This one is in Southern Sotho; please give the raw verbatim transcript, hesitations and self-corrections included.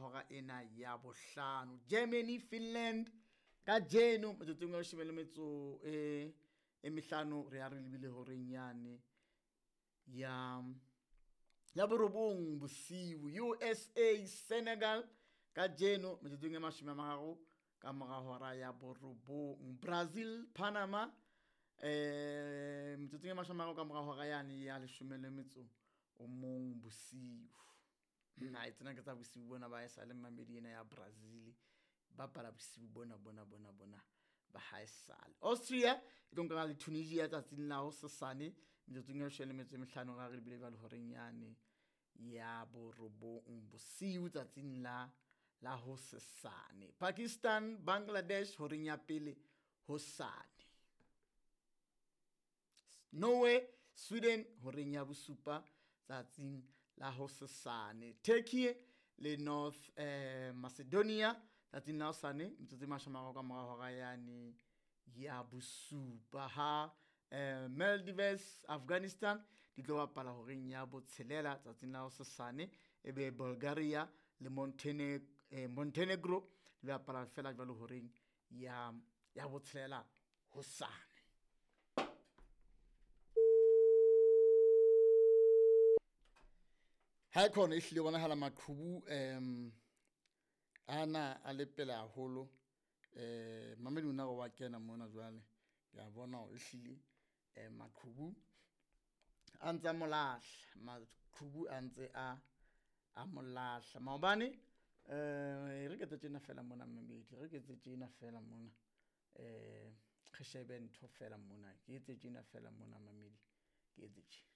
hora ena ya bohlano. Germany Finland kajeno metsotsong ya leshome le metso e e mehlano re ya re lebile horeng yane ya ya borobong bosiu. U S A Senegal kajeno metsotsong e mashome a mararo ka mora hora ya borobong. Brazil Panama eh metsotsong e mashome a mararo ka mora hora yane ya leshome le metso o mong bosiu. Hai tsena ke tsa bosiu bona ba haesale mamedi ena ya Brazil bapala bosiu bona bona bona bona ba haesale. Austria e tlo nkana le Tunisia tsatsing la hosasane metsotsong e leshome le metso e mehlano ra re lebile jwale horeng yane ya borobong bosiu tsatsing la la hosasane. Pakistan Bangladesh horeng ya pele hosane. Norway Sweden horeng ya bosupa tsatsing la hosasane. Turkey le North eh, Macedonia tsatsing la hosane metsotso e mashome a mararo ka mora hora yane ya bosupa. Ha eh, Maldives Afghanistan di tlo bapala horeng ya botshelela tsatsing la hosasane, ebe Bulgaria le Montenegro, eh, Montenegro di bapala fela jwalo horeng ya ya botshelela hosane. Ha khona ehlile bonahala maqhubu em ana a le pele haholo eh mamedi ona wa kena mona jwale ke a bona hore ehlile eh maqhubu a ntse a mo lahla, maqhubu a ntse a a mo lahla maobane. Eh re ke tjena fela mona mamedi, re ke tjena fela mona eh re shebe ntho fela mona, ke etse tjena fela mona mamedi, ke etse tjena.